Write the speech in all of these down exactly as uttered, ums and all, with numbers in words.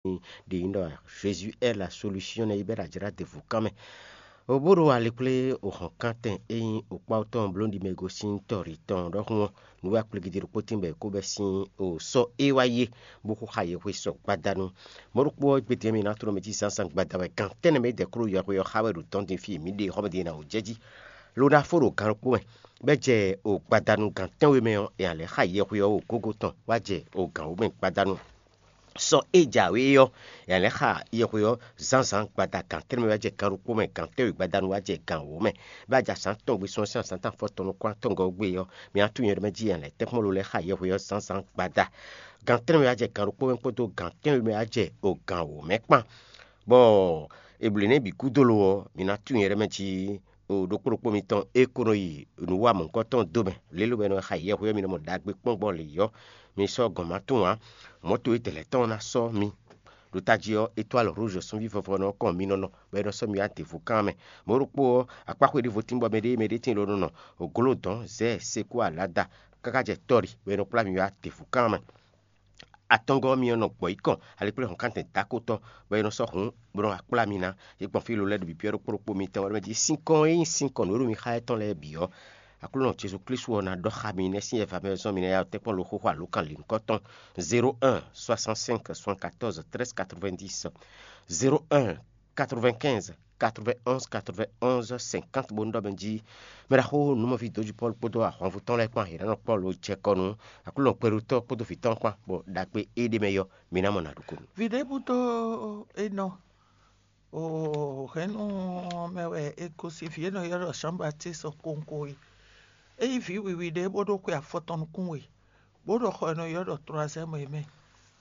ɖe nyí ɖɔ Jésus est la solution nɛ́ yi bɛ́ ɖo ajlá ɖěvo kán mɛ. Bó ɖo ali kplé ohɔnkántɛn e nyí okpáwú tɔn bló ɖi mɛ gosín tɔ́ ɖi tɔn ɖɔhun ɔ́, nǔ wɛ akpligidi ɖokpó tín bɔ è kó bɛ́ sín o sɔ́ é wá yé, bó xo xa yɛhwe sɔ gbadanu. Mɔ̌ ɖokpó ɔ́, gbedɛ́ mɛ ná tló mɛ jí zǎnzǎn gbada wɛ gan tɛ́nnɛ mɛ é dɛ kúɖo yɔhwe ɔ́ xa wɛ ɖo dɔ̌n din fí e mǐ ɖe xɔ́mɛ din ná wǒ jɛ jí. Lo ná fó ɖo gan ɖokpó mɛ, bɔ é jɛ o gbadanu gan tɛ́nwe mɛ ɔ́, è nǎ lɛ́ xa yɛhwe ɔ́ o gógó tɔn wá jɛ o gǎn wǒ mɛ gbadanu. Sɔ e jǎwe ɔ́, è nǎ lɛ́ xa yɛhwe ɔ́ zǎnzǎn gbada gan tɛ́nnɛ mɛ wá jɛ gan ɖokpó mɛ, gan tɛ́nwe gbadanu wá jɛ gan wǒ mɛ. Bɔ a jɛ azǎn tɔn gbe sɔ́ sín azǎn tɔn afɔtɔn nukún-atɔ́ɔ́ngɔ́ gbe ɔ́, mi ná tunwun nyɛ ɖɔ mɛ jí è nǎ lɛ́ tɛ́nkpɔ́n lo lɛ́ xa yɛhwe ɔ́ zǎnzǎn gbada. Gan tɛ́nnɛ mɛ wá jɛ gan ɖokpó mɛ kpódó gan tɛ́nwe mɛ wá jɛ o gan wǒ mɛ kpán. Bɔ è blǒ nɛ́ bǐ gúdo lo ɔ́, mi ná tunwun nyɛ ɖɔ mɛ jí o ɖokpó ɖokpó mitɔn e ko nɔ yi nǔ wa mɔ̌hunkɔtɔn dó mɛ, lě e lǒ bɔ è nɔ xa yɛhwe ɔ́, mi nɔ mɔ ɖagbe kpɔ́n gbɔn lě ɔ́, mi sɔ́ gɔ̌n ma tunwun ǎ. Mɔ̌ towe tɛlɛ̌ tɔn ná sɔ́ mi, ɖo tají ɔ́, étoile rouge sunví vɔvɔ nɔ kɔn mi nɔ nɔ, bɔ é nɔ sɔ́ mi wá devo kán mɛ. Mɔ̌ ɖokpó ɔ́, akpáxwé ɖěvo tín bɔ mɛɖée mɛɖée tín ló nɔ nɔ, ògló dɔ̌n, zɛ̌, sekú, alada, káká jɛ tɔ́ ɖi, bɔ é nɔ kplá mi wá devo kán mɛ. Atɔngɔ́ ɔ́, mi nɔ gbɔ̌ yi kɔn ali kplé hɔnkántɛn dákótɔ́, bɔ é nɔ sɔ́ hǔn bó nɔ́ wá kplá mi ná. É gbɔn fí lolɛ́ ɖo bǐbí ɔ́ ɖokpó ɖokpó mitɔn ɔ́ mɛ jí sín kɔn e nyí sín kɔn nǔ e ɖo mi xá étɔn lɛ́ɛ bǐ ɔ́, Aklúnɔ Jezu Klísu ɔ́ ná ɖɔ xá mi nɛ́ sín ɛva mɛ zɔ́n mi ná ya tɛ́nkpɔ́n lo xóxó alǒkan lǐnkɔ́ tɔn zéro un soixante-cinq soixante-quatorze treize quatre-vingt-dix, zéro un quatre-vingt-quinze quatre-vingt-onze quatre-vingt-onze cinquante bó nú ɖɔ mɛ jí mɛ ɖaxó nǔmɔví dǒjí Pɔ́lu kpódó ahwanvú tɔn lɛ́ɛ kpán yě ná nɔ kpɔ́ lo jɛ kɔ nú Aklúnɔ kpɛɖotɔ́ kpódó vǐ tɔn kpán, bɔ ɖagbe éɖée mɛ yɔ mi ná mɔ nǎ ɖu ko nú. Vǐ ɖěbǔ dó enɔ o hɛ̌nnu mɛ wɛ è gosín vǐ e nɔ ylɔ́ ɖɔ Jean Baptiste kowunkowun é. É nyí vǐ wiwi ɖé bó ɖó xwe afɔtɔn nukún we, bó ɖo xɔ e nɔ ylɔ́ ɖɔ Tlwazɛ́mu é mɛ,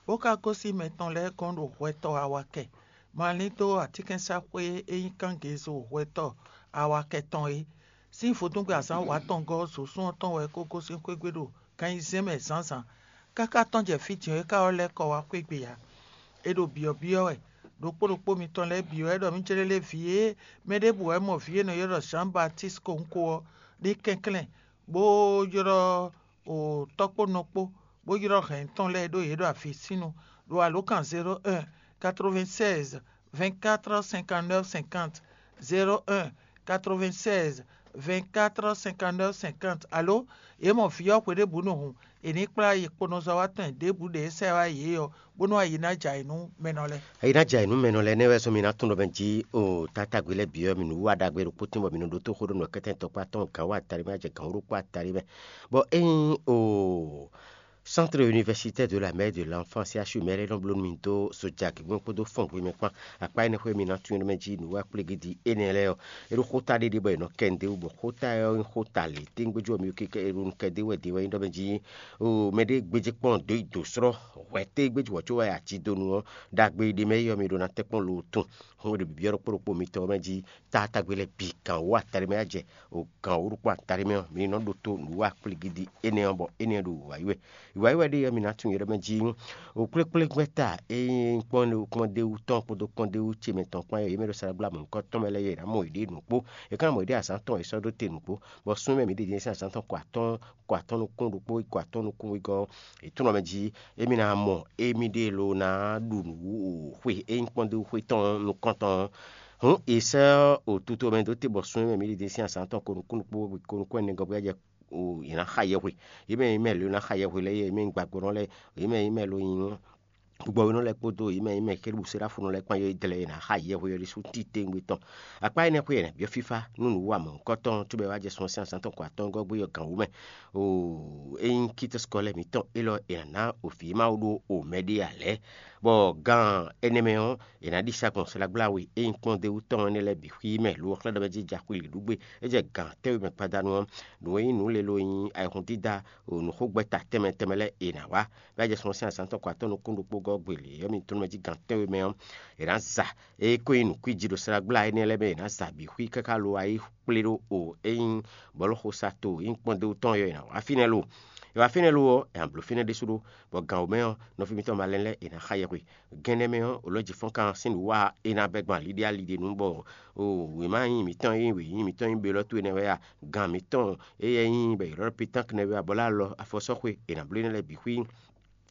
bó ka gosín mɛ tɔn lɛ́ɛ gɔ́n ɖo hwɛtɔ́ awakɛ, ma lín dó atínkɛnsaxwé e nyí kángezo hwɛtɔ́ awakɛ tɔn é. Sín vodúngbe azǎn wǎ tɔn gɔ́ zǒsún ɔ́ tɔn wɛ é ko gosín xwé gbe ɖo gan ayizɛ́n mɛ zǎnzǎn, káká tɔ́n jɛ fí din ɔ́ é ka wá lɛ́ kɔ wá xwé gbe ǎ. È ɖo byɔ̌byɔ́ wɛ, ɖokpó ɖokpó mitɔn lɛ́ɛ bǐ wɛ ɖɔ mǐ jlé lé vǐ e mɛ ɖěbǔ wɛ mɔ vǐ e nɔ ylɔ́ ɖɔ Jean Baptiste kowunko ɔ́ ní kɛnklɛ́n, bó ylɔ́ o tɔ́ kpó nɔ kpó, bó ylɔ́ hɛ̌n tɔn lɛ́ɛ ɖó yě ɖo avǐsínnu ɖo alǒkan zéro un quatre-vingt-seize vingt-quatre cinquante-neuf cinquante, zéro un quatre-vingt-seize vingt-quatre cinquante-neuf cinquante. Alo yě mɔ vǐ ɔ́ hweɖěbǔ nɔ hun, è ní kplá yi kponɔzɔ́watɔ́ ɖěbǔ ɖě sɛ́ wá yě ɔ́, bónú ayi ná jɛ ayǐ nú mɛnɔ lɛ́ɛ. Ayi ná jɛ ayǐ nú mɛnɔ lɛ́ɛ nɛ́ wɛ zɔ́n mi ná tunwun ɖɔ mɛ jí o tátágbe lɛ́ɛ bǐ ɔ́, mi nǔ wa ɖagbe ɖokpó tín bɔ mi nɔ ɖótó xó ɖó nǔ kɛ́tɛ́ tɔkpá tɔn gǎn wá atali mɛ, jɛ gǎn wú ɖokpó atali mɛ. Bɔ ényí o Centre Universitaire de la Mère de l'Enfant, C H U, mɛ lɛ́ɛ nɔ bló nú mi dó sojagǐgwɛ́n kpódó fɔngbe mɛ kpán. Akpá énɛ́ xwé mi ná tunwun mɛ jí nǔ wá kplégídi énɛ́ lɛ́ɛ ɔ́, é ɖó xóta ɖé ɖe bɔ è nɔ kɛ nǔɖé wú, bɔ xóta ɔ́ nyí xóta lě téŋgbéjú ɔ́ mi kɛ́ é ɖo nú kɛdé wɛ ɖe wɛ nyí ɖɔ mɛ jí o mɛɖé gbéjé kpɔ́n dǒ yi dǒ slɔ́ hwɛ tégbéjú wɔ có wɛ aji dó nu ɔ́, ɖagbe ɖé mɛ é ɔ́ mi ɖó ná tɛ́ kpɔ́n lo tun. Hɔn ɖo bǐbyɔ́ ɖokpó ɖokpó mitɔn mɛ jí tátágbe lɛ́ɛ bǐ gǎn wú atali mɛ wá jɛ o gǎn wú ɖokpó atali mɛ ɔ́, mi ní nɔ ɖótó nǔ wa kplígídí énɛ́ ɔ́, bɔ énɛ́ ɔ́ ɖo wǔwá yi wɛ. Wǔwá yi wɛ ɖe ɔ́, mi ná tunwun yě ɖɔ mɛ jí o kplékplégbɛ́ta e nyí kpɔ́ndéwú tɔn kpódó kpɔ́ndéwú ce mɛ tɔn kpán é, yě mɛ ɖo saɖagbla mɔ̌hunkɔtɔn mɛ lɛ́ɛ é, yě ná mɔ yěɖée nǔkpó. Yě ká ná mɔ yěɖée azǎn tɔn e sɔ́ ɖó te nǔkpó, bɔ súnnu mɛ mǐ ɖě din sín azǎn tɔn kɔ atɔ́ɔ́n kɔ atɔ́ɔ́n nukún ɖokpó yi kɔ atɔ́ɔ́n nukún wegɔ́ ɔ́, è tunwun mɛ jí émí ná mɔ émí ɖée lo ná ɖu nǔ xwe e nyí kpɔ́ndéwú xwe tɔn nukɔntɔn ɔ́. Hǔn è sɛ́ o tuto mɛ dó te bɔ sun e mɛ mǐ ɖi din sín azǎn tɔn ko nukún ɖokpó ko nukún ɛnɛ gɔ́ bó jɛ o yě ná xa yɛhwe. Yě mɛ nyí mɛ lo ná xa yɛhwe lɛ́ɛ, yě mɛ nyí gbàgbónɔ lɛ́ɛ, yě mɛ nyí mɛ lo nyí gbɔgbɔnɔ lɛ́ɛ kpódó yě mɛ nyí mɛ kérúbù séráfunɔ lɛ́ɛ kpán yɔ́ yi dlɛ́ yě ná xa yɛhwe ɔ́ ɖésú titewungbe tɔn. Akpá énɛ́ xwé yě ná byɔ́ fífá nú nǔ wa mɔ̌hunkɔtɔn cóbɔ é wá jɛ sun sín azǎn tɔn ko atɔ́ɔ́ngɔ́ gbé yɔ gǎn wú mɛ. O é nyí kítɔ́ skɔ́ lɛ́ɛ mǐtɔn élɔ́ è nǎ ná o vǐ Mawu ɖó o mɛ ɖé ǎ lɛ́ɛ, bɔ gan énɛ́ mɛ ɔ́, è nǎ ɖi sa gbɔn slagbláwe e nyí kpɔ́ndéwú tɔn énɛ́ lɛ́ɛ bǐ xwí mɛ lo ɔ́ xlɛ́ ɖɔ mɛ jí ja xwili ɖu gbé. É jɛ gan tɛ́nwe mɛ gbadanu ɔ́, nǔ e nyí nǔlélo e nyí ayihún dídá o nǔxogbɛ́ta tɛnmɛ tɛnmɛ lɛ́ɛ è nǎ wá. Bɔ é jɛ sun sín azǎn tɔn ko atɔ́ɔ́n nukún ɖokpó gɔ́ gbe lě ɔ́, mi tunwun mɛ jí gan tɛ́nwe mɛ ɔ́, è nǎ za é ko nyí nǔkwíji ɖo slagbla énɛ́ lɛ́ɛ mɛ è nǎ za bǐ xwí káká lo wá yi kplé ɖó o é nyí bɔ̌luxosato e nyí kpɔ́ndéwú tɔn ɔ́, è nǎ wá fínɛ́ lo. È wá fínɛ́ lo ɔ́, è nǎ bló fínɛ́ ɖésú ɖó, bɔ gan wǒ mɛ ɔ́, nɔví mitɔn malɛn lɛ́ɛ è nǎ xa yɛhwe. Gɛ́nɛ mɛ ɔ́, olɔ̌jifɔ́nkan sín nǔ wa é ná bɛ́ gbɔn aliɖíaliɖí nu, bɔ wěma nyí mǐtɔn e nyí wěnyí mǐtɔn nyí belɔ́ towe nɛ́ wɛ a, gan mǐtɔn éyɛ́ nyí bɔ è ylɔ́ ɖɔ pétánk nɛ́ wɛ a, bɔ lɛ́ alɔ afɔsɔ́xwe è nǎ bló énɛ́ lɛ́ɛ bǐ xwí.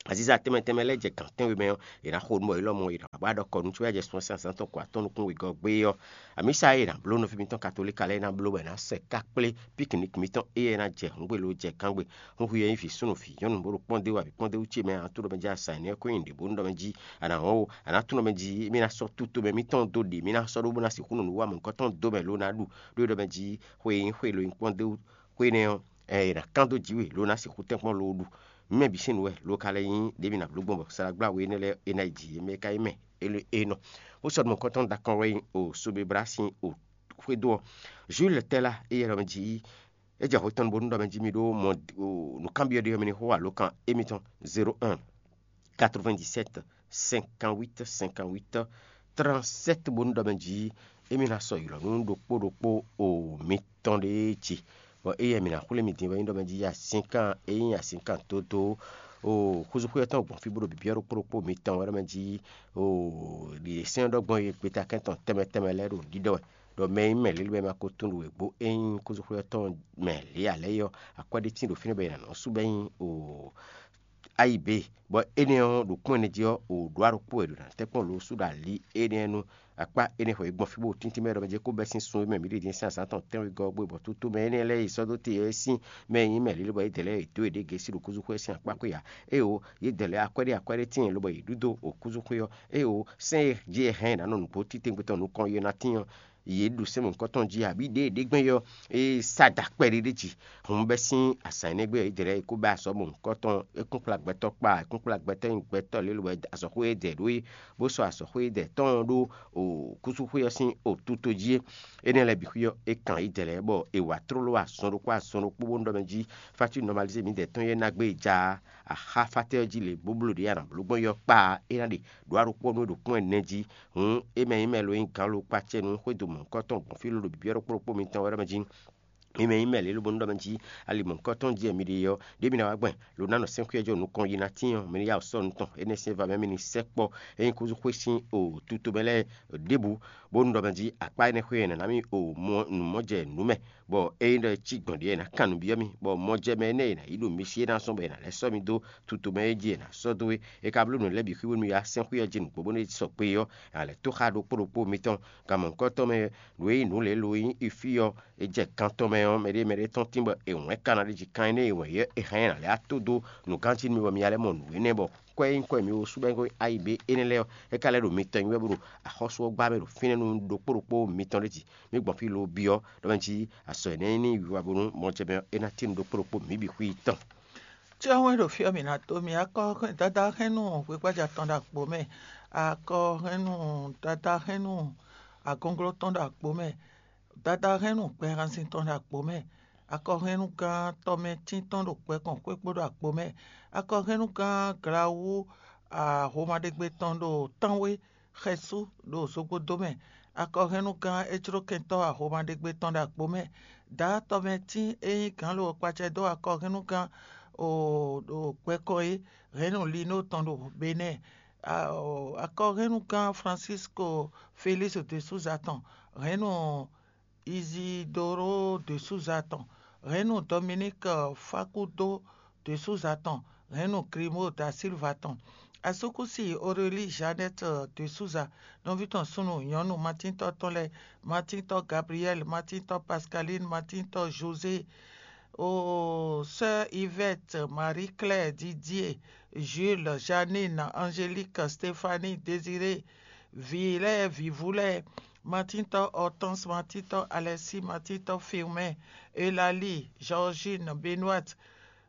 Aziza tɛnmɛ tɛnmɛ lɛ́ɛ jɛ gǎn tɛ́nwe mɛ ɔ́, è nǎ xo nú bɔ élɔ́ mɔ è nǎ wá ɖɔ kɔ nú có wɛ jɛ sun sín azǎn tɔn ko atɔ́ nukún wegɔ́ gbé ɔ́. Amǐsa e è nǎ bló nɔví mitɔn katolíka lɛ́ɛ ná bló bɔ è nǎ sɛ ká kplé piknik mitɔn éyɛ́ ná jɛ hǔngbe lo jɛ kángbe. Hun hu yɛ nyí vǐ súnnu vǐ nyɔ́nu bó ɖo kpɔ́ndé wú abǐ kpɔ́ndé wú ce mɛ, a nǎ tunɔ mɛ jí a sa nyɛ̌ kɔn nyi nǔɖé bónú ɖɔ mɛ jí a nǎ wɔn o, a nǎ tunɔ mɛ jí mì ná sɔ́ tutome mitɔn dó ɖě mì ná sɔ́ ɖó bó ná sixú nɔ nǔ wa mɔ̌hunkɔtɔn dó mɛ lo ná ɖu, ɖó é ɖɔ mɛ jí xwe e nyí xwe lo nyí kpɔ́ndé wú xwe énɛ́ ɔ́, ɛ, è nǎ kán dó jǐ we, lo ná sixú tɛ́nkpɔ́n lo ɖu. Mɛ bǐ sín nǔ wɛ lo ka lɛ́ nyí ɖěbǔ ná bló gbɔn bɔ salagbla we énɛ́ lɛ́ɛ é ná yi jǐ, é mɛ ka nyí mɛ é nɔ. Bó sɔ́ ɖo mɔ̌hunkɔtɔn ɖo akɔn wɛ nyí o Sobebra sín o xwédo ɔ́. Jules Tɛ́la éyɛ́ ɖɔ mɛ jí é jɛ hwetɔ́n bónú ɖɔ mɛ jí mi ɖó mɔ nǔkanbyɔ́ ɖé ɔ́, mi ní xo alǒkan émítɔn zéro un quatre-vingt-dix-sept cinquante-huit cinquante-huit trente-sept bónú ɖɔ mɛ jí émí ná sɔ́ ylɔ̌ nú ɖokpó ɖokpó o mitɔn ɖéé ce. Bɔ éyɛ́ mǐ ná xwlé mi din wɛ nyí ɖɔ mɛ jí azǐnkan e nyí azǐnkan dódó o xúzúxwé ɔ́ tɔn gbɔn fí bó ɖo bǐbíɔ́ ɖokpó ɖokpó mitɔn wɛ ɖɔ mɛ jí o ɖi sɛ́n ɖɔ gbɔn e gbeta kɛntɔn tɛnmɛ tɛnmɛ lɛ́ɛ ɖo ɖiɖɔ wɛ. Ɖɔ mɛ e nyí mɛ lélú wɛ ma ko tunwun ɖo wěgbó e nyí xúzúxwé ɔ́ tɔn mɛ lě ǎ lɛ́ɛ ɔ́, akwɛ́ ɖé tín ɖo fínɛ́ bɔ è nǎ nɔ sú bɔ é nyí o ayi bě. Bɔ énɛ́ ɔ́, ɖo kpɔ́n ɛnɛ jí ɔ́, o ɖó aɖokpó wɛ ɖo nǎ tɛ́nkpɔ́n lǒ sú ɖo alǐ énɛ́ nu. Akpá énɛ́ xɔ yě gbɔn fí bó tíntín mɛ ɖɔ mɛ jɛ kó bɛ́ sín sun e mɛ mǐ ɖe din sín azǎn tɔn tɛ́nwegɔ́ ɔ́ gbé bɔ tútú mɛ énɛ́ lɛ́ɛ yi sɔ́ dó te ɔ́ sín mɛ e nyí mɛ lǐlí bɔ yě dɛ lɛ́ɛ yě dó yě ɖě gěsí ɖo kúzúxwé sín akpá xwé ǎ. Éeǒ, yě dɛ lɛ́ɛ akwɛ́ ɖé akwɛ́ ɖé tíin lobɔ yě ɖú dó o kúzúxwé ɔ́. Éeǒ, sɛ́n e jí è hɛn ná nɔ nǔgbó títɛ́ngbé tɔn nukɔn yě ná tín ɔ́, yě ɖu sɛ́n mɔ̌hunkɔtɔn jí abǐ ɖěe ɖě gbɛ́n ɔ́, é sá da kpɛɖé ɖé jí. Hǔn bɛ́ sín azǎn énɛ́ gbe ɔ́, yě dɛ lɛ́ɛ yě kó bɛ́ azɔ̌ mɔ̌hunkɔtɔn, é kún kplá gbɛtɔ́ kpa, é kún kplá gbɛtɔ́ nyi gbɛtɔ́ lě lobɔ azɔ̌xwé e dɛ ɖó é, bó sɔ́ azɔ̌xwé e dɛ tɔn ɔ́ ɖó o kúzúxwé ɔ́ sín o tuto jí é. Énɛ́ lɛ́ɛ bǐ xwí ɔ́, é kan yě dɛ lɛ́ɛ bɔ è wǎ tlóló azɔn ɖokpó azɔn ɖokpó bónú ɖɔ mɛ jí fátú nɔmalizé mǐdɛɛ tɔn yɛ́ ná gbé e ja axá fátɛ́ ɔ́ jí lě bó bló ɖě a nǎ bló gbɔn yɔ́ kpa é ná ɖe ɖǒ aɖokpɔ́ nú é ɖo kpɔ́n ɛnɛ jí. Hǔn é mɛ nyí mɛ lo nyí gǎn lo kpácɛ́ nú xwédo mɔ̌hunkɔtɔn gbɔn fí lóɖo bǐbí ɔ́ ɖokpó ɖokpó mitɔn wɛ ɖɔ mɛ jí. Mi mɛ nyí mɛ lě lobonu ɖɔ mɛ jí ali mɔ̌hunkɔtɔn jí wɛ mi ɖe ɔ́, ɖěbǔ ná wá gbɛn lo ná nɔ sɛ́n xwíyɔ́ jɔ nukɔn yi ná tín ɔ́, mi ní yá wǔ sɔ́ nukɔn énɛ́ sín va mɛ mi ní sɛ́ kpɔ́ é nyí kúzú xwé sín o tuto mɛ lɛ́ɛ ɖěbǔ, bónú ɖɔ mɛ jí akpá énɛ́ xwé ɔ́ è nǎ ná mì o mɔ nǔ mɔ jɛ nǔ mɛ, bɔ ényí ɖɔ é cí gbɔn ɖě è nǎ kan nǔ byɔ́ mì, bɔ mɔjɛmɛ énɛ́ è nǎ yí ɖo mi sí é ná zɔ́n bɔ è nǎ lɛ́ sɔ́ mi dó tuto mɛ é jí è nǎ sɔ́ dó é. È ka bló nǔ lɛ́ɛ bǐ xwí bónú mi wá sɛ́n xwé ɔ́ jí nǔgbó bónú é sɔgbe ɔ́, è nǎ lɛ́ tó xá ɖokpó ɖokpó mitɔn. Gan mɔ̌hunkɔtɔn mɛ, nǔ e nyí nǔ lě lo nyí ifí ɔ́, è jɛ gan tɔn mɛ ɔ́, mɛɖé mɛɖé tɔn tín bɔ è wɛ̌n ka ná ɖi jí kan énɛ́ e wɛ̌n yɛ́ è hɛn ɛ nǎ lɛ́ wá tó dó nǔganjí nú mi bɔ mi ná lɛ́ mɔ nǔ énɛ́ bɔ kwɛ́ e nyí kwɛ́ mǐ wo sú bɔ é nyí ayǐ bé énɛ́ lɛ́ɛ ɔ́, é ka lɛ́ ɖo mi tɔn nyi wɛ bó ɖo axɔ́sú ɔ́ gbá mɛ ɖo fínɛ́ nú ɖokpó ɖokpó mitɔn ɖé jí. Mǐ gbɔn fí lo byɔ́ ɖɔ mɛ jí azɔ̌ énɛ́ nyí wiwa bónú mɔjɛmɛ ɔ́, é ná tín nú ɖokpó ɖokpó mǐ bǐ xwí tɔn. Tí ɔ́ wɛn ɖo fí ɔ́, mǐ ná dó mi akɔ́ dáadáa hɛn nú hwegbaja tɔn ɖo akpo mɛ, akɔ hɛn nú dáadáa hɛn nú agɔnglo tɔn ɖo akpo mɛ, dáadáa hɛn nú gbɛhanzin tɔn ɖo akpo mɛ, akɔhɛnnugán tɔmɛtín tɔn ɖo gbɛkɔn xwé kpó ɖo akpo mɛ, akɔhɛnnugán Glawú ahomaɖegbe tɔn ɖo tánwé xɛsú ɖo zogbodó mɛ, akɔhɛnnugán éjlókɛntɔ́ ahomaɖegbe tɔn ɖo akpo mɛ, dǎ tɔmɛtín e nyí gǎn lo kpacɛ dó akɔhɛnnugán o ɖo gbɛkɔn é hɛn nú Linó tɔn ɖo Benɛ́ɛ, akɔhɛnnugán Francisco Félix de Souza tɔn hɛn nú Isidoro de Souza tɔn, hɛn nú Dominique Facundo de Souza tɔn, hɛn nú Grimo da Silva tɔn. Asúkúsi Aurélie Jeannette de Souza, nɔví tɔn súnnu nyɔ̌nu Matíntɔ tɔn lɛ́ɛ, Matíntɔ Gabriel, Matíntɔ Pascaline, Matíntɔ José, o sœur Yvette, Marie-Claire, Didier, Jules, Janine, Angélique, Stéphanie, Désiré, vǐ lɛ́ɛ, vǐvú lɛ́ɛ, Matíntɔ Hortense, Matíntɔ Alexis, Matíntɔ Firmin, Eulalie, Georgine, Benoîte,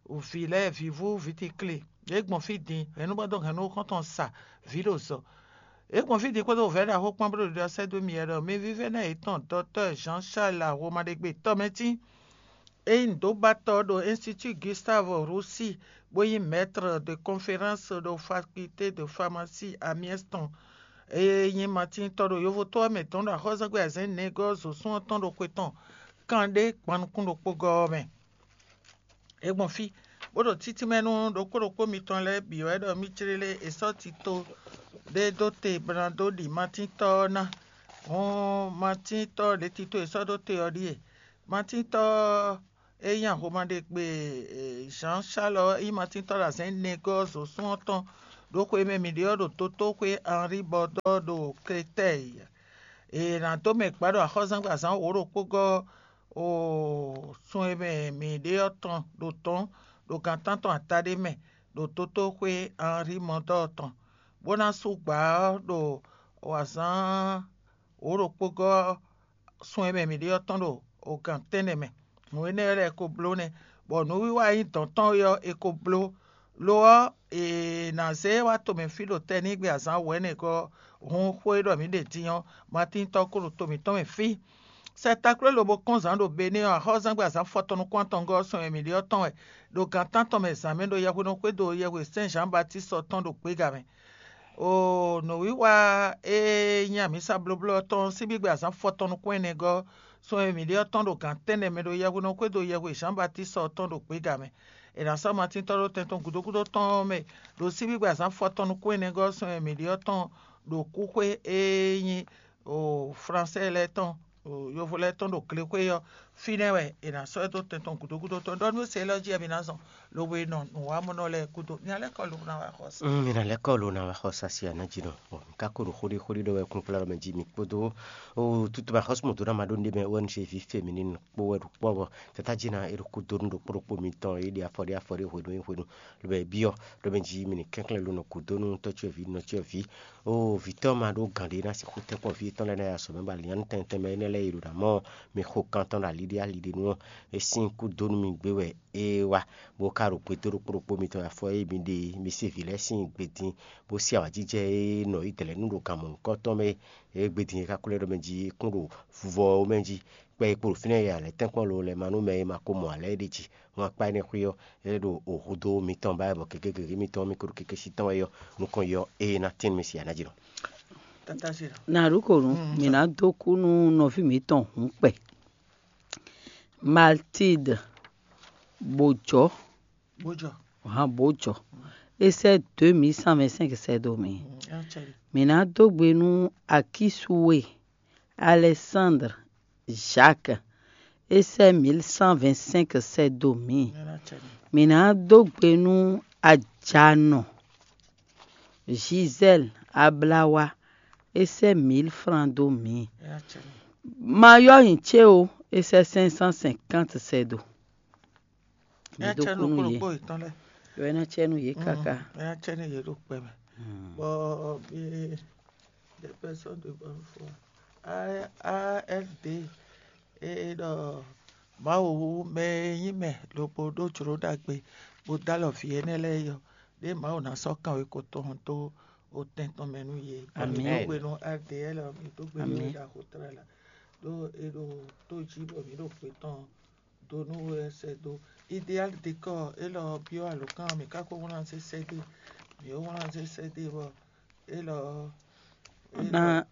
vǐ lɛ́ɛ, vǐvú, vǐtikli, yě gbɔn fí din, hɛ̌nnúgbɛ́dó hɛ̌nnúxɔ́ntɔn sa, vǐ ɖo zɔ. Yě gbɔn fí din kpódó vɛ̌ ɖaxó kpán bó ɖo ɖiɖɔ sɛ́ dó mì wɛ ɖɔ mi vívɛ́ná yětɔn Dɔktɔ́ Jean Charles Ahomaɖegbe tɔmɛtín e nyí nǔdóbatɔ́ ɖo Institut Gustave Roussy, bó nyí maître de conférence ɖo faculté de pharmacie Amiens tɔn, e nyí Matíntɔ ɖo yovóto ɔ́ mɛ tɔn ɖo axɔ́súzángbe azɛ̌n nɛgɔ́ zǒsún ɔ́ tɔn ɖo xwe tɔn kanɖé gban nukún ɖokpó gɔ́ ɔ́ mɛ. É gbɔn fí, bó ɖo títínmɛ nú ɖokpó ɖokpó mitɔn lɛ́ɛ bǐ wɛ ɖɔ mí jlé lé è sɔ́ tito ɖé dó te bó ná dó ɖi Matíntɔ ɔ́ ná. Hɔn Matíntɔ ɖě tito è sɔ́ ɖó te ɔ́ ɖíe: Matíntɔ é nyí axomɛ ɖé gbe Jean Charles ɔ́, é nyí Matín tɔ́ ɖo azɛ̌n nɛgɔ́ zǒsún ɔ́ tɔn ɖo xwe e mɛ mǐ ɖe ɔ́ ɖo Totóxwé Henri Bɔdɔ́ ɖo Kletɛ́ɛ. È nǎ dó mɛ gbǎ ɖo axɔ́zángbazán wǒ ɖokpó gɔ́ sun e mɛ mǐ ɖe ɔ́ tɔn ɖo tɔ̌n ɖo gan tántɔn ata ɖé mɛ ɖo Totóxwé Henri Mɔdɔ́ tɔn, bó ná sú gbǎ ɔ́ ɖo wǎzán wǒ ɖokpó gɔ́ sun e mɛ mǐ ɖe ɔ́ tɔn ɖo gan tɛ́nnɛ mɛ. Nǔ énɛ́ lɛ́ɛ ko bló nɛ́, bɔ nǔwiwa e nyí dɔ̌n tɔn é ɔ́, è ko bló. Lo ɔ́, è nǎ zé wá tomɛ fí ɖo tɛnígbe azǎn wɛ̌nɛgɔ́ hun xó e ɖɔ mǐ ɖe din ɔ́, Matín tɔ́ ko ɖo to mǐtɔn mɛ fí. Sɛ takló e lobo kɔn zǎn ɖo Benɛ́ ɔ́, axɔ́zángbé azǎn fɔtɔn nukún-atɔngɔ́ ɔ́ sɔn e mǐ ɖe ɔ́ tɔn wɛ, ɖo gan tántɔn mɛ zǎn mɛ ɖo yɛhweɖɔ xwédo yɛhwe Sɛ́n Zǎn Batíst ɔ́ tɔn ɖo gbéga mɛ. Oo, nǔwiwa e nyí amǐsa blóbló ɔ́ tɔn sín gbígbɛ azǎn fɔtɔn nukún ɛnɛ gɔ́, sɔn e mǐ ɖe ɔ́ tɔn ɖo gan tɛ́nnɛ mɛ ɖo yɛhweɖɔ xwédo yɛhwe Zǎn Batíst ɔ́ tɔn ɖo gbéga mɛ. È nǎ sɔ́ Matín tɔ́ ɖó tɛn tɔn gǔdo gúdo tɔn mɛ ɖo sín gbígbɛ azǎn fɔtɔn nukún ɛnɛ gɔ́, sɔn e mǐ ɖe ɔ́ tɔn ɖo kúxwé e nyí Flansɛ́ lɛ́ɛ tɔn, yovo lɛ́ɛ tɔn ɖo glexwé ɔ́, fínɛ́ wɛ è nǎ sɔ́ ɛ dó tɛn tɔn gǔdo gúdo tɔn. Ɖɔ nú se élɔ́ jí wɛ mi ná zɔn, lobo e nɔ nǔwanmɔnɔ lɛ́ɛ gúdo. Mi ná lɛ́ kɔ lobo ná wá xɔ sa. Mm, mi ná lɛ́ kɔ lo ná wá xɔ sa si aná jí nɔ. Bɔ mi ka ko ɖo xóɖí xóɖí ɖɔ wɛ kún kplá ɖɔ mɛ jí mi kpódó o tutu ma xɔsúmɔ dó ná ma ɖó ní ɖé mɛ wɛ ní se ví fé mi ní nɔ kpó wɛ ɖo kpɔ́ bɔ tata jí ná e ɖo kúdó nú ɖokpó ɖokpó mitɔn e ɖi afɔ ɖé afɔ ɖé hwenu e hwenu lobɛ biɔ ɖɔ mɛ jí mi ní kɛnklɛn lo nɔ kúdó nú tɔ́cyɔvǐ nɔcyɔvǐ. Oo, vǐ tɔn ma ɖó gǎn ɖé ná sixú tɛ́nkpɔ́n vǐ yětɔn lɛ́ɛ ná yi azɔ̌ mɛ bɔ alǐnnyánú tɛntɛn mɛ énɛ́ lɛ́ɛ yi ɖo ná mɔ mi xo kan tɔn ɖo ali ɖé ali ɖé nu ɔ́, é sín kú dó nú mi gbé wɛ é wá, bó ka ɖo gbédó ɖokpó ɖokpó mitɔn yi afɔ e mi ɖe mi se vǐ lɛ́ɛ sín gbe din, bó se awǎjijɛ e nɔ yi dlɛ̌ nú ɖo gan mɔ̌hunkɔtɔn mɛ é gbe din e ka ko lɛ́ ɖɔ mɛ jí é kún ɖo vuvɔ ɔ́ mɛ jí. Kpɛ e kpo ɖo fínɛ́ e alɛ̌ tɛ́nkpɔ́n lo lɛ́ɛ ma nú mɛ e ma ko mɔ alɛ̌ é ɖe jí. Wọ́n akpá énɛ́ xwé ɔ́, é ɖo hudó mitɔn ba wɛ bɔ gěgé gěgé mitɔn mi ko ɖo keke sí tɔn wɛ ɔ́, nukɔn yɔ ée ná tɛ́n mì si aná jí nɔ. Tata Zira. Na ɖu ko nu, mi ná dó kú nú nɔví mǐtɔn hǔnkpɛ. Matilde Bojɔ, Bojɔ. Hàn Bojɔ. É sɛ́ deux mille cent vingt-cinq sɛ́ dó mi. Mǐ ná dó gbe nú Akísúwe Alexandre Jacques, é sɛ́ mille cent vingt-cinq sɛ́ dó mǐ. Mǐ ná dó gbe nú Ajanɔ Gisèle Ablawa, é sɛ́ mille francs dó mǐ. Ma yɔ́ nyi cé o, é sɛ́ cinq cent cinquante sɛ́ dó. Mǐ dó kú nú yě. Yɔ é ná cɛ nú yě káká. É ná cɛ nú yě ɖo kpɛ mɛ. Bɔ bí des personnes de bonne foi. A F D e ɖɔ Mawu mɛ e nyí mɛ lobo ɖó jlǒ ɖagbe bó dó alɔ vǐ énɛ́ lɛ́ɛ yɔ, ɖé Mawu ná sɔ́ kanwekotɔn dó otɛn tɔn mɛ nú yě. Amǐ. Mǐ dó gbe nú A D L, mǐ dó gbe nú Amǐ. Ɖaxo tlala ɖó é ɖo tó jí bɔ mǐ ɖo xwe tɔn dó nú we wɛ sɛ́ dó. Idéal dékɔ élɔ́ byɔ́ alǒkan mǐ ka ko wlán sésɛ́ dó mǐ ó wlán sésɛ́ dó bɔ élɔ́ Na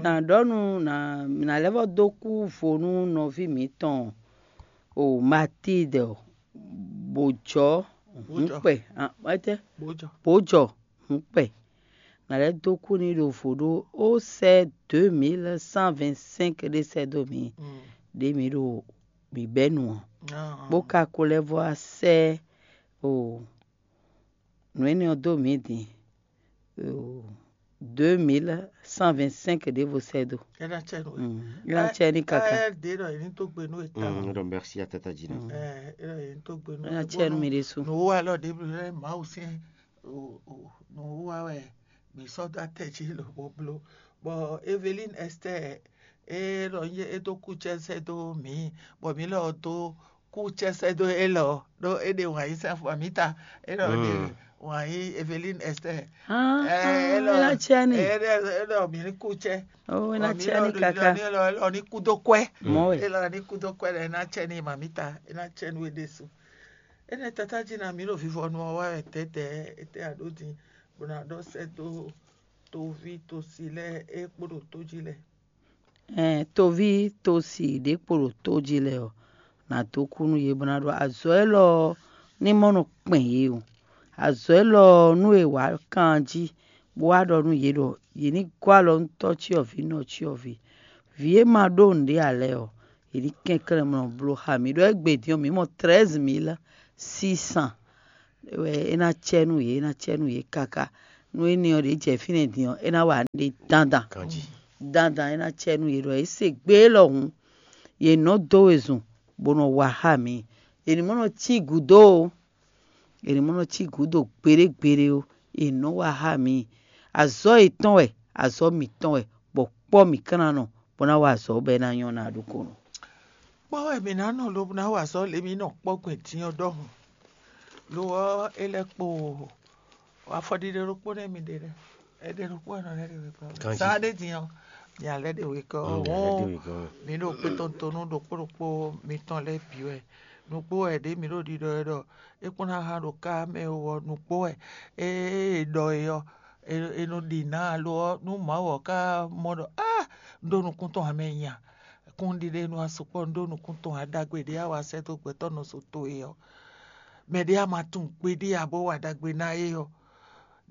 na ɖɔ nu na na lɛ́ vɔ dó kú vo nú nɔví mǐtɔn o Matilde o, bǒjɔ hǔnkpɛ, bǒjɔ hǔnkpɛ. Na lɛ́ dó kú n'i ɖo vo ɖó ó sɛ́ deux mille cent vingt-cinq ɖé sɛ́ dó mǐ ɖě mǐ ɖo mǐ bɛ́ nu ɔ́, bó ka ko lɛ́ vɔ wá sɛ́ o nǔ énɛ́ ɔ́ dó mǐ din. Deux mille cent vingt-cinq ɖěvo sɛ́ dó. É ná cɛ nú we. Mm, é ná cɛ ní kaka. Káyɛ́ ɖě ɖɔ yě ní dó gbe nú we tawun. Mm, ɖɔ merci à Tata Jina. Mm. Ɛ é ɖɔ yě ní dó gbe nú we. É ná cɛ nú mi ɖésú. Nǔ wa lɔ ɖěbǔ lɛ́ Mawu sín nǔ wa wɛ mǐ sɔ́ dó atɛ jí lobo bló. Bɔ Eveline Esther é ɖɔ é dó kúcɛ́ sɛ́ dó mǐ, bɔ mǐ lɔ dó kúcɛ́ sɛ́ dó élɔ́ ɖó é ɖe wǎn yí sín afɔ mǐ ta. É ɖɔ é ɖe wǎn yí Eveline Esther. Ɛ é lɔ é ná cɛ ní. É ɖɔ é ɖɔ mǐ ní kúcɛ́. Ó é ná cɛ ní kaka. Élɔ́ ní kú dó kwɛ́. Mɔ̌ wɛ. Élɔ́ ní kú dó kwɛ́ ɖɔ é ná cɛ ní mamǐ ta, é ná cɛ nú é ɖésú. Énɛ́ Tata Jina mǐ ɖo vivɔnu ɔ́ wa wɛ tɛ̌tɛ̌, étɛ́ a ɖǒ din bó ná ɖɔ sɛ́ dó toví tosi lɛ́ɛ é kpo ɖo tó jí lɛ́ɛ. Ɛn toví tosi ɖě kpo ɖo tó jí lɛ́ɛ ɔ́, nǎ dó kú nú yě bó ná ɖɔ azɔ̌ élɔ́ ɔ́ ní mɔ nɔ kpɛn yě o. Azɔ̌ élɔ́ ɔ́ nú è wǎ kan jí bó wá ɖɔ nú yě ɖɔ yě ní gɔ́ alɔ nú tɔ́ cyɔ́vǐ nɔ cyɔ́vǐ. Vǐ e ma ɖó nǔɖé ǎ lɛ́ɛ ɔ́, È ní kɛnklɛ́n mɔ bló xá mǐ ɖó égbé din ɔ́, mǐ mɔ treize mille six cents wɛ é ná cɛ nú yě, é ná cɛ nú yě káká. Nú énɛ́ ɔ́, ɖě jɛ fínɛ́ din ɔ́, é ná wa nǔɖé dandan. Dandan é ná cɛ nú yě ɖɔ é se gbé élɔ́ hǔn, yě nɔ dó wezun bó nɔ wa xá mǐ. È nǐ mɔ nɔ cí gǔdo ó. È nǐ mɔ nɔ cí gǔdo gbeɖé gbeɖé ó. È nɔ wa xá mǐ. Azɔ̌ yětɔn wɛ, azɔ̌ mǐtɔn wɛ, bɔ kpɔ́ mǐ kán ná nɔ bó ná wa azɔ̌ bɔ é ná nyɔ́ ná ɖokpónɔ. Kpɔ́ wɛ mǐ ná nɔ lobo ná wa azɔ̌ lě mǐ nɔ kpɔ́ gbɛn din ɔ́ ɖɔhun. Lo ɔ́, é lɛ́ kpo afɔɖiɖe ɖokpó nɛ́ mi ɖe lɛ́ɛ. Ɛɖɛ ɖokpó wɛ nɔ lɛ́ ɖe wekɔ. Zan ɖé din ɔ́, mi alɛ ɖe wekɔ. Mǐ ɖo kpé tɔn to nú ɖokpó ɖokpó mitɔn lɛ́ɛ bǐ wɛ. Nǔgbó wɛ ɖě mǐ ɖo ɖiɖɔ wɛ ɖɔ é kpɔ́n ná hán ɖo ká mɛ ó ɔ́, nǔgbó wɛ. Ée è ɖɔ é ɔ́, è nɔ ɖi nǎ alo ɔ́, nú Mawu ɔ́ ka mɔ ɖɔ á un ɖó nukún tɔn ǎ mɛ nya. Kúnɖiɖe nú a sukpɔ́ un ɖó nukún tɔn ǎ ɖagbe ɖě a wa sɛ́ dó gbɛtɔ́ nɔ so towe ɔ́. Mɛ ɖě a ma tunwun gbeɖé ǎ bó wa ɖagbe ná é ɔ́,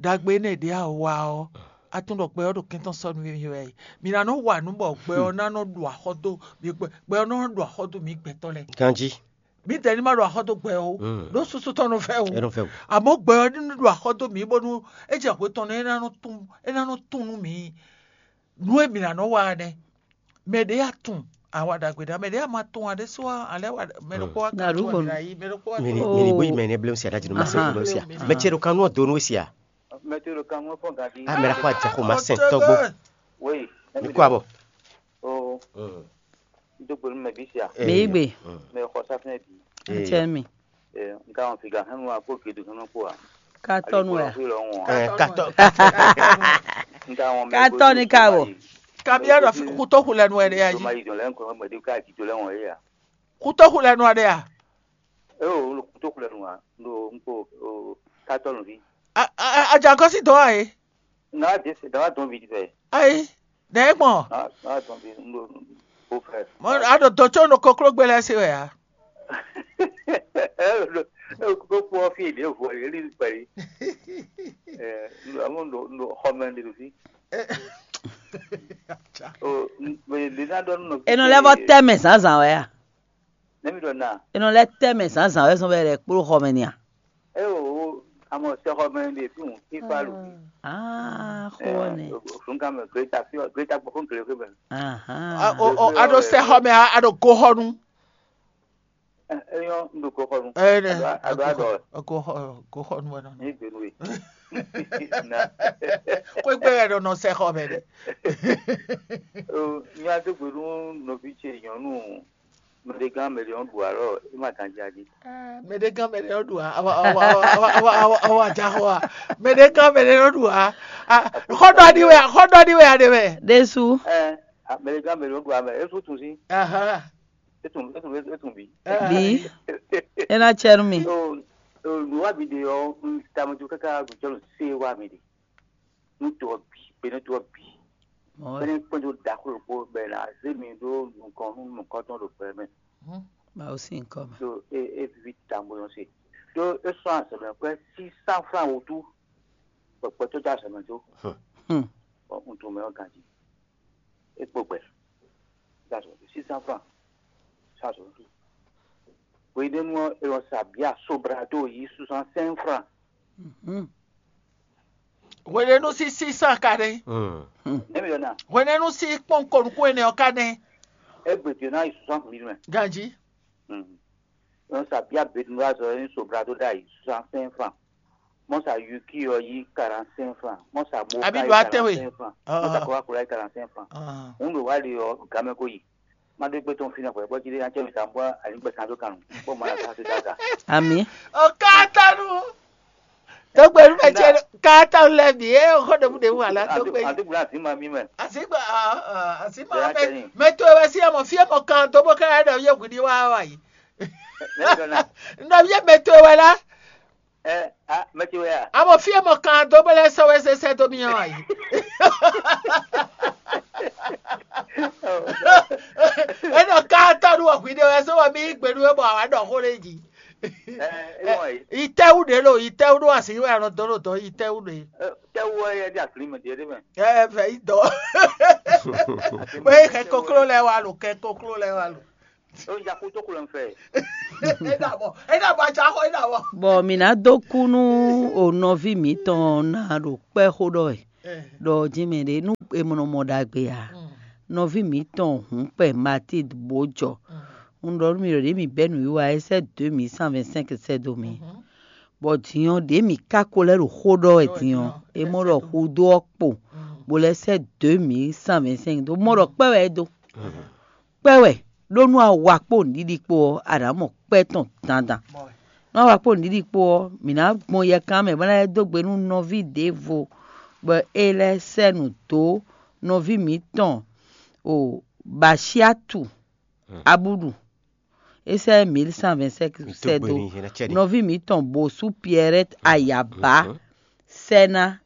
ɖagbe énɛ́ ɖě a wa ɔ́, a tunwun ɖɔ gbɛ ɔ́ ɖo kɛntɔ́ sɔ́ nú mì wɛ. Mǐ ná nɔ wa nǔ bɔ gbɛ ɔ́ ná nɔ ɖu axɔ́ dó mǐ gbɛ, gbɛ ɔ́ nɔ nɔ ɖu axɔ́ dó mǐ gbɛtɔ́ lɛ́ɛ. Ganjí. Mǐdɛɛ ní ma ɖo axɔ́ dó gbɛ ó, ɖó susu tɔn nɔ fɛ wú. Ɛ nɔ fɛ wú. Àmọ́ gbɛ ɔ́ ní ɖo axɔ́ dó mǐ bónú é jɛ hwe tɔn nú é ná nɔ tún é ná nɔ tún nú mǐ. Nǔ e mǐ ná nɔ wa ɔ́ nɛ́. Mɛ ɖě a tunwun awa ɖagbe ɖa, mɛ ɖě a ma tunwun ǎ ɖésú ɔ́, alɛ wa mɛ ɖokpó wá Nyaɖuxo. Kan mǐ ná yí, mɛ ɖokpó wá Mini, kan. Mini bóyi mɛ ne blem sia, ɖa jinu ma se Aha. Blem sia. Mɛ ce ɖo kan nú ɔdonu sia. Mɛ ce ɖo kan mɔ fɔ gadi. A mɛ ɖo kó adza xo ma sɛn tɔgbo. Oui. Mi kó abɔ. O, do gbenu mɛ bi sia. Mɛ yí gbe. Mɛ xɔ safinɛ bi. Atsɛ mi. Nka wɔn fi ga hɛn wa kó gedu hɛn kó wa. Katɔnu ya. Ɛ, katɔ. Nka wɔn mɛ Katɔ ni ka wɔ. Kabia ɖɔ kutoxu lɛ nu wɛ ɖe ya yi. Toma yi dɔn lɛ nkɔ mɛ de ka ti to lɛ wɔn ye ya. Kutoxu lɛ nu wɛ ɖe ya. E o kutoxu lɛ nu wa. Ndo nko o katɔnu vi. Ajakɔsi dɔn wa ye. Nga de se dɔn wa dɔn vi fɛ. Ayi. Nɛ gbɔn. Nga dɔn vi ndo o fɛ. Mo a ɖo dɔtɔ nɔ kɔklo gbɛ lɛ se wɛ ya. Ko kpɔ fi ɖě vo ali li kpɛ yi. Ɛ, ndo amu ndo ndo xɔmɛ ɖe ɖo fi. O, mɛ ɖe na ɖɔ nɔ. Enɔ lɛ vɔ tɛ mɛ zǎnzǎn wɛ a? Ne mi ɖɔ na. Enɔ lɛ tɛ mɛ zǎnzǎn wɛ zɔn bɛ lɛ kpló xɔmɛ ni a? E o, amɔ sɛ xɔmɛ ɖe fi hùn fi fa lu fi. Ah, xɔ nɛ. Fun kan mɛ greta fi greta gbɔ fun kele fi mɛ. Ahan. A o o a ɖo sɛ xɔmɛ a a ɖo goxɔnu. Eyɔn, un ɖo goxɔnu. Ɛ nɛ. A ɖo a ɖɔ. Goxɔ goxɔnu wɛ nɔ. Ní gbenu e. Na. Xwégbé wɛ nɔ nɔ sɛ xɔ mɛ ɖe. O, nya dó gbe nú nɔví ce nyɔnu mɛɖegán mɛɖe ɔ́ ɖu alɔ é ma ganjí aɖi. Mɛɖegán mɛɖe ɔ́ ɖu a awa awa awa awa awa awa ajaxɔ a mɛɖegán mɛɖe ɔ́ ɖu a xɔɖɔ aɖi wɛ xɔɖɔ aɖi wɛ aɖe wɛ. Ɖésú. Ɛ, mɛɖegán mɛɖe ɔ́ ɖu a mɛ é sú tun sí. Ahan. É tún é tún é tún bí. Bí é ná cɛ nú mi. Nǔwábí ɖe ɔ́, un tamɛ káká gbɛjɔ́ nɔ sé wá mi ɖe. Nú to ɔ́ bǐ, gbe nú to ɔ́ bǐ. Bɛ́ ní kpɛ́n dó ɖaxó ɖokpó bɔ è nǎ zé mi ɖó nukɔn nú nukɔntɔn ɖo gbɛ mɛ. Mawu sín nyǐkɔ mɛ. Ɖó é é viví tawun bó nɔ se. Ɖó é sɔ́ azɔ̌mɛ kwɛ́ sísá flán wútu, bɔ gbɛtɔ́ dó azɔ̌mɛ dó. Bɔ un tunwun mɛ ɔ́ ganjí. É kpo gbɛ. Dó azɔ̌mɛ dó sísá flán. Sá azɔ̌mɛ dó. Hweɖénu ɔ́, è nɔ sa bǐ asoblado yi soixante-cinq francs. Hwenɛ́nu sín sísá ka nɛ́. Nɛ́ mi ɖɔ ná? Hwenɛ́nu sín kpɔ́n ko nukún énɛ́ ɔ́ ka nɛ́. Égbé din ɔ́ ná yi soixante mille mɛ. Ganjí. È nɔ sa bǐ abedun azɔ é nyí soblado ɖ'ayǐ soixante-cinq francs. Mɔ sa yuki ɔ́ yí quarante-cinq francs. Mɔ sa moka Abi yí ɖo atɛ́we. Quarante-cinq francs. Mɔ sa Coca-Cola yí quarante-cinq francs. Hǔn ɖo wá ɖe ɔ́, gamɛ ko yi. Má ɖó gbé tɔn fínɛ́ hwɛ̌ bɔ jí ɖé ná cɛ mi ta bɔ ali gbɛ kan dó kan nú bɔ má ná ká sí dága. Ami. O katanu. Tó gbé nú mɛ cɛ katanu lɛ bǐ é xɔ ɖebu ɖebu ala tó gbé. Àti gbla àti ma mi mɛ. Àti gbla àti ma mɛ mɛ tó wɛ sí ɛmɔ fí ɛmɔ kan tó bó ká yɛ ɖɔ yé hwi ní wá wá yìí. Nɔ yé mɛ tó wɛ la. Ɛ a mɛ ce wɛ a? Abo fie mɔ kan dó bó lɛ́ sɔ́ wɛ sɛsɛ dó mì ɔ́ a yi. Enɔ ka tɔ́ nú wɔ hwi ɖé wɛ só wɔ mí yí gbe nú we bɔ àwa ɖɔ xó ɖé jí. Ɛ ɛ wɔ yi. Itɛwu ɖe lo itɛwu ɖo asi wɛ anɔ dó ɖo dɔn itɛwu ɖe. Tɛwu wɛ yɛ di akli mɛ diɛ ɖe mɛ. Ɛ fɛ yi dɔ. Wɛ yi kɛ koklo lɛ wa lo kɛ koklo lɛ wa lo. Ó ja kú tó kú lɔ fɛ. É ɖa bɔ, é ɖa bɔ atsɔ axɔ é ɖa bɔ. Bɔ mǐ ná dó kú nú o nɔví mǐtɔn ná ɖo kpɛ́ xó ɖɔ wɛ. Ɖɔ jɛ́n mɛ ɖé nú è mɔ nɔ mɔ ɖagbe ǎ. Nɔví mǐtɔn hǔnkpɛ Matilde bó jɔ. Un ɖɔ nú mi ɖɔ ɖě mǐ bɛ́ nǔwiwa é sɛ́ deux mille cent vingt-cinq sɛ́ dó mì. Bɔ din ɔ́, ɖě mǐ ka ko lɛ́ ɖo xó ɖɔ wɛ din ɔ́, é mɔ ɖɔ xudó ɔ́ kpo, bó lɛ́ sɛ́ deux mille cent vingt-cinq dó. Mɔ ɖɔ kpɛ́ wɛ é dó. Kpɛ́ wɛ ɖó nú awa kpó nǔɖiɖi kpó ɔ́, a nǎ mɔ kpɛ́ tɔn dandan. Nú awa kpó nǔɖiɖi kpó ɔ́, mǐ ná gbɔn yɛkan mɛ bó ná lɛ́ dó gbe nú nɔví ɖěvo bɔ é lɛ́ sɛ́ nǔ dó nɔví mǐtɔn o Basyatu Abúɖu. É sɛ́ mil cent vingt-cinq sɛ́ dó nɔví mǐtɔn Bosú Pierrette Ayaba sɛ́ ná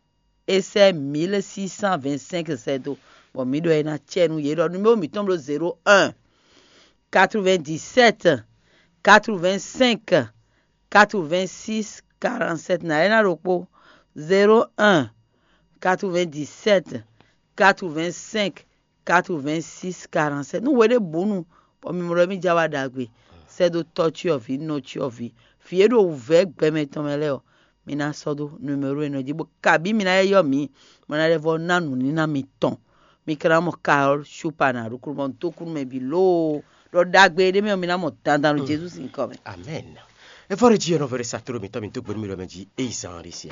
é sɛ́ mil six cent vingt-cinq sɛ́ dó, bɔ mǐ ɖɔ é ná cɛ nú yě ɖɔ numéro mǐtɔn bló zéro un, quatre-vingt-dix-sept, quatre-vingt-cinq, quatre-vingt-six, quarante-sept. Na é ná ɖokpó, zéro un, quatre-vingt-dix-sept, quatre-vingt-cinq, quatre-vingt-six, quarante-sept. Nú hweɖěbǔnu bɔ mi mɔ ɖɔ mì ja wa ɖagbe, sɛ́ dó tɔ́ cyɔ́vǐ, nɔ cyɔ́vǐ, vǐ e ɖo wǔvɛ́ gbɛmɛ tɔn mɛ lɛ́ɛ ɔ́, mi ná sɔ́ dó numéro énɛ́ jí, bó kabí mi ná yɔ́ mǐ, bó ná lɛ́ vɔ́ ná nǔníná mitɔn. Mi ka ná mɔ Carole Chopin ná ɖokúnɔ mɔ dó kú nú mɛ bǐ lóo, ɖɔ ɖagbe e ɖ'é mɛ ɔ́, mi ná mɔ dandan ɖo Jezu sín nyǐkɔ mɛ. Amen. Evɔ́ ɖe jí ɔ́ nɔ vɛ́ ɖé sa tló mǐtɔn mi dó gbe nú mì ɖɔ mɛ jí, ée zán ɔ́ ɖe siɛ.